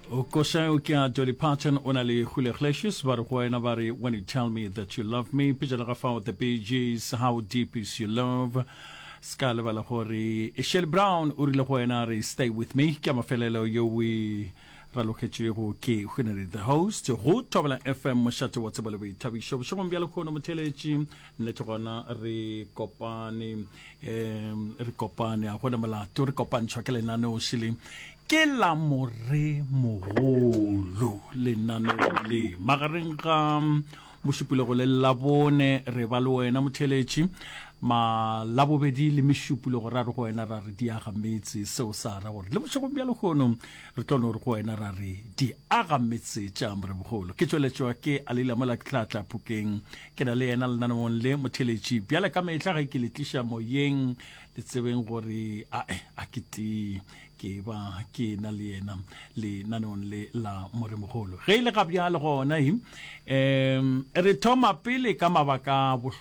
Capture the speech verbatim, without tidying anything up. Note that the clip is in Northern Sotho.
Koša o ke a Dolly Parton o na le Julio Iglesias ba re go wena ba re when you tell me that you love me pejana ga fao The Bee Gees how deep is your love ska lebala gore Shirley Brown o rile go wena re stay with me ke a mafelelo yo we ralogetšego ke Hwenary the host go Thobela FM mošate wa tsebo le boithabišo bošegong bja lekgono motheletši nnete gona re kopane um re kopane a gona molato re kopantšhwa ke lenaneo šele ke la moremogolo lenaneo le magareng ga mošupologo le labone re ba le wena motheletši malabobedi le mešupologo ra re go wena ra re di aga metse seo sa ra gore le bošegong bja lekgono re tlo no re go wena ra re di aga metse tša moremogolo ke tšweletšwa ke alila mola ke tla tla phokeng ke na le yena lenaneong le motheletši bjale ka mehla ge ke le tliša moyeng le tsebeng gore ae a ke tee ke ba ke na le yena lenaneong le la moremogolo ge e le ga bjale gona um re thoma pele ka mabaka a bohlokwa